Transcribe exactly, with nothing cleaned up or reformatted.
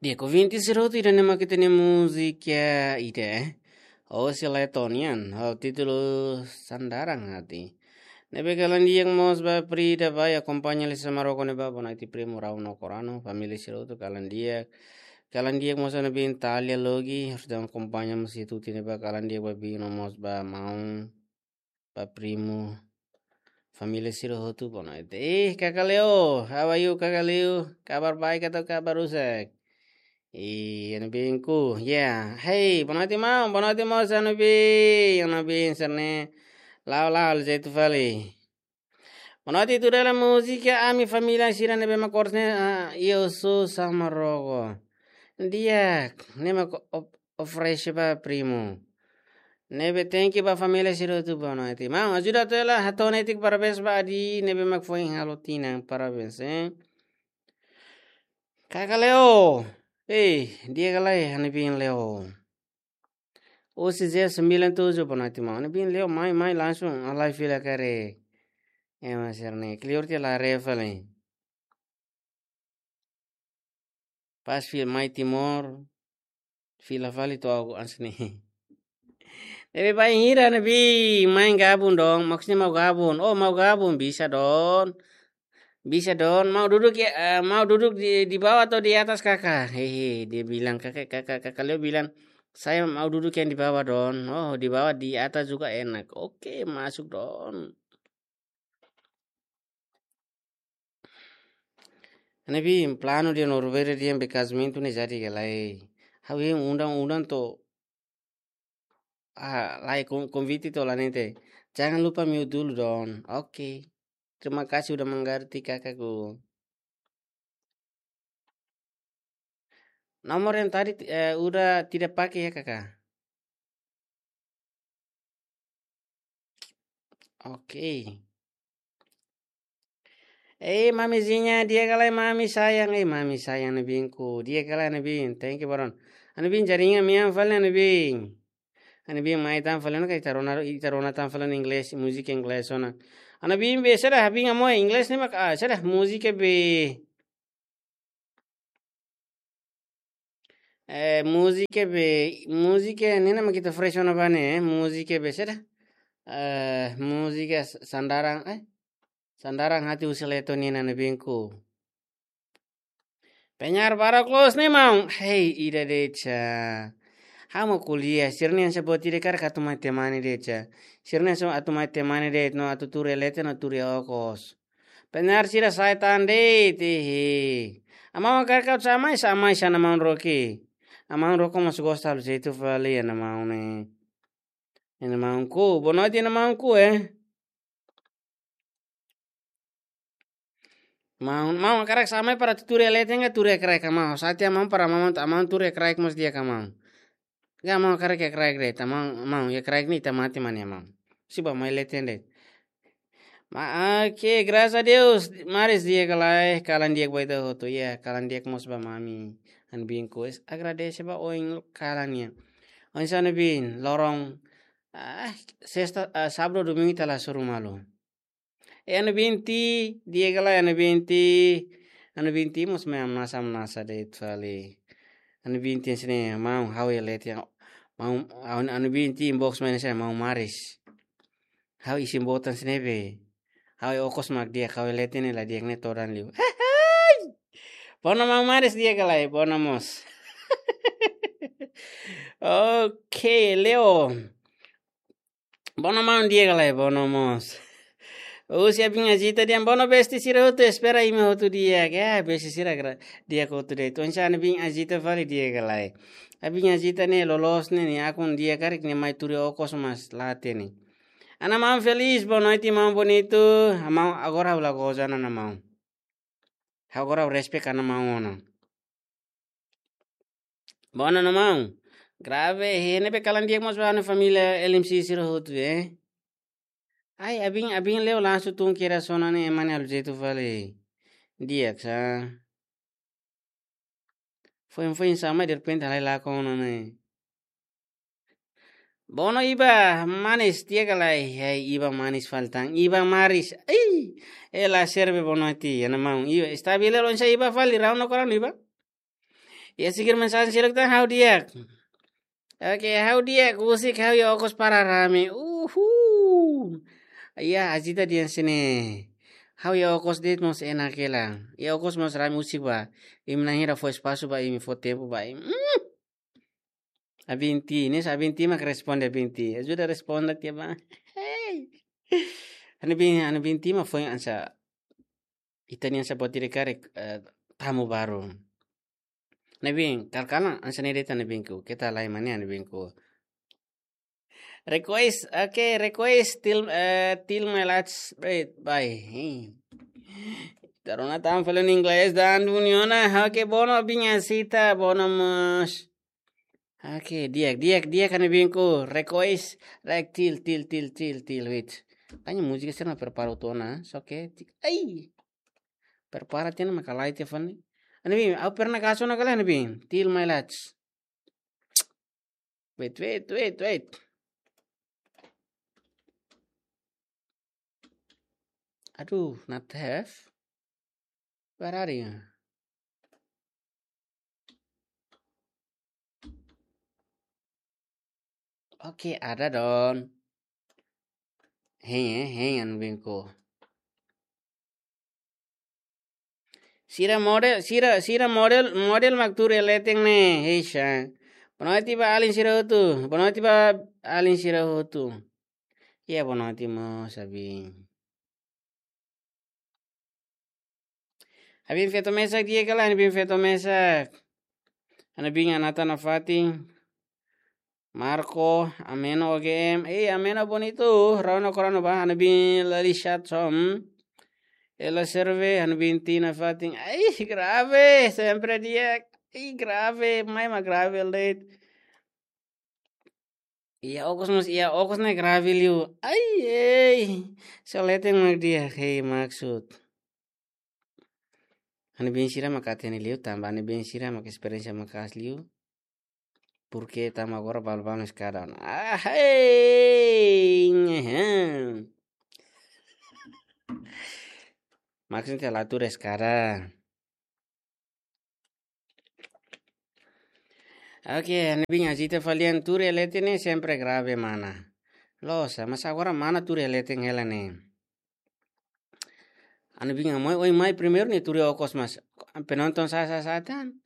Iya, konvite sira hotu ida-ne'e mak ita-nia múzika ida, eh. Osi Letonian, ho títulu Sandaran Hati. Ne'ebé kalan di'ak mós ba Pri ida ba akompaña Lisa Maroko ne'ebá, boa noite primu Rau no Korano, família sira hotu kalan di'ak. Kalan di'ak mós Ana Bin Talia Logi, harus dang akompaña mós itu ti ne'ebá kalan di'ak ba Bino mós ba maun, ba primu. Família sira hotu boa noite. Eh, Kaka Leo, how are you, Kaka Leo? Kabar baik atau kabar rusak? Ih, Ana Bin ku. Ya, hey, boa noite maun, boa noite maun, Ana Bin, Ana Bin serne. Lao lao, jeitu fali. Boa noite, tudo ela múzika, ami família sira ne'ebé mak kores ne'e, ah, eu sou Samaroko. Di'ak, ne'e mak o-, oferese ba primu. Ne'ebé thank you ba família sira hotu boa noite. Maun, ajuda atu hela, hato'o netik parabéns ba Adi, ne'ebé mak foin halo tinan, parabéns, eh. Kaka Leo. Eh, di'ak ka lae, Ana Bin Leo. Osi Zé sembilan tujuh boa noite maun. Ana Bin Leo mai, mai langsung, alai fila kare. Eh, mas serne, clear te la re fali. Pas fil mai Timor, fila fali to'o aku ansne. Ne'ebé bainhira Ana Bin, mai gabung dong, maksudnya mau gabung. Oh, mau gabung, bisa dong. Bisa dong, mau duduk ya, eh, mau duduk di, di bawah atau di atas, Kaka? Hehe, dia bilang, Kaka, Kaka, Kaka Leo bilang, "Saya mau duduk yang di bawah, Don." "Oh, di bawah, di atas juga enak." Oke, masuk, Don. Ana Bin, planu dia no rubere dia be kazamentu ne'e jadi ka lae. Ha'u iha undang-undang to'o, ah, lae kon-, konvite to'o la nete. Jangan lupa mute dulu, Don. Oke. Terima kasih udah mengerti, Kakaku. Nomor yang tadi, eh, udah tidak pakai ya, Kakak? Oke. Eh, mamizinha, di'ak ka lae mami sayang, eh, mami sayang, Ana Bin ku, di'ak ka lae Ana Bin, thank you, Baron. Ana Bin, jaringan mean fali, Ana Bin. Ana Bin mai tan fali ona ka ita rona, ita rona tan fali ona inglés, múzika inglés ona. Ana Bin be, saida, Ana Bin amo inglés ne'e mak, ah, saida, múzika be. Eh, múzika be, múzika ne'e mak ita fresh ona ba ne'e, eh, múzika be, saida. Eh, múzika s-, Sandaran, eh, Sandaran Hati husi Leto nian, Ana Bin ku. Penyiar baru close ne'e maun. Hei, ida de'it sa. Ha'u mak ko'alia, sira-ne'e hanesan buat ida karik atu mai temani de'it sa. Sira-ne'e hanesan atu mai temani de'it no atu tuur iha leten no tuur iha okos. Penyiar sira saitan de'it, hehe. Amau karik atu samai, samai sa Ana Maun Roki. Ana Maun Roki mós gosta halo jeitu fali Ana Maun ne'e. Ana Maun ku, boa noite Ana Maun ku, eh. Maun, maun karik samai para tuur iha leten ka tuur iha kraik ka maun. Sati maun para maun, maun tuur iha kraik mós di'ak ka maun. Ka maun karik iha kraik de'it, maun, maun iha kraik ne'e ita mate mane maun. Sei bá mai leten de'it. Ma, oke, graças a Deus, maris di'ak ka lae, kalan di'ak ba ita hotu, ya, kalan di'ak mós ba mami, Ana Bin ku, es, agradese ba oin kalan nian. Oinsá Ana Bin, loron, ah, sesta, ah, sábadu, domingu ita la hasoru malu. Eh, Ana Bin ti, di'ak ka lae Ana Bin ti. Ana Bin ti mós mai hamnasa, hamnasa de'it fali. Ana Bin ti sini mau ha'u iha leten. Mau, Ana, Ana Bin ti inbox mai sini mau maris. Ha'u isin boot sini be. Ha'u iha okos mak di'ak, ha'u iha leten ne'e la di'ak ne'e todan liu. Hehe. Bona mau maris di'ak ka lae, bona mós. Oke, Leo. Bona maun di'ak ka lae, bona mós. Husi Abin Ajita dehan, bona besti sira hotu, espera imi hotu di'ak. Ya, besti sira kra, di'ak hotu de'it. Oinsá Ana Bin Ajita fali di'ak ka lae. Abin Ajita ne'e loloos ne'e, nia akun di'ak karik nia mai tuur iha okos mas la hatene. Ana Maun Feliz, boa noite, maun bonitu. Maun, agora ha'u la goza ona, Ana Maun. Ha'u agora ha'u respect Ana Maun ona. Bona Ana Maun. Grave, he ne'ebé kalan di'ak mós ba ha'u-nia família L M C sira hotu, eh. Ai, Abin, Abin Leo langsung tun kira sona ne'e mane halo jeitu fali. Di'ak sa. Foin, foin samai derrepente halai lakon ona ne'e. Bona Iba, manis, di'ak ka lae, hei, Iba manis fali tan, Iba maris, ei, ela serve boa noite, Ana Maun, Iba, está bem, oinsá Iba fali, rau no korang Iba. Iha seguir mensajen seluk tan ha'u di'ak. Oke, ha'u di'ak, husik ha'u iha okos para rame. Uhuu. Iha, agita di'ak sini. Ha'u iha okos de'it mós enak hela. Iha okos mós rame husik ba. Imi na'in hira fó espasu ba imi, fó tempu ba imi. Mm. Abin Ti, ne'e Abin Ti mak responde Abin Ti. Ajuda responde tiha ba. Hei. Abin, Abin Ti mak foin hanesan ita-nian hanesan buat ida karik, eh, tamu baru. Abin, kal-kalan hanesan ne'e de'it Abinku. Keta lai mane Abinku. Request, oke, request till, eh, till my last breath. Bye. Hei. Ita rona tan fali inglés dan dunia ona. Oke, bono Abin, agita, bono mós. Oke, di'ak, di'ak, di'ak Abinku. Request, like, till, till, till, till, till, wait. Tanya múzika sira mak prepara tiha ona, só que, ti-, ai. Prepara tiha ona mak la iha tiha fali. Abin, ha'u pernah kaso na kala Abin. Till my last. Wait, wait, wait, wait. Aduh, not have. Where are you? Oke, ada don. Hein, eh, hein, Abinku. Sira model, sira, sira model, model mak tuur iha leten ne'e, hei sa. Boa noite ba alin sira hotu, boa noite ba alin sira hotu. Iha boa noite mós Abin. Abin feto mesak di'ak ka lae, Abin feto mesak. Abin Anata nafatin. Marco, Ameno O G M. Ei, Ameno bonito. Rona korona ba, Abin Lali Chat som. Ela serve, Abin Ti nafatin. Ai, grave, sempre di'ak. Ai, grave, mai mak grave de'it. Iha okos mós, iha okos ne'e grave liu. Ai, ei. Só leten mak di'ak, hei maksud. Abin sira mak hatene liu, tanba Abin sira mak esperiénsia maka'as liu. Porque tama agora balbal eskada. Ah, hei. Ngehem. Maksudnya la tuur eskada. Oke, Abin agita fali an tuur iha leten ne'e sempre grave mana. Loos, mas agora mana tuur iha leten hela ne'e. Abin amoi, oi mai primeiru ne'e tuur iha okos mas. Penonton sa, sa, sa tan.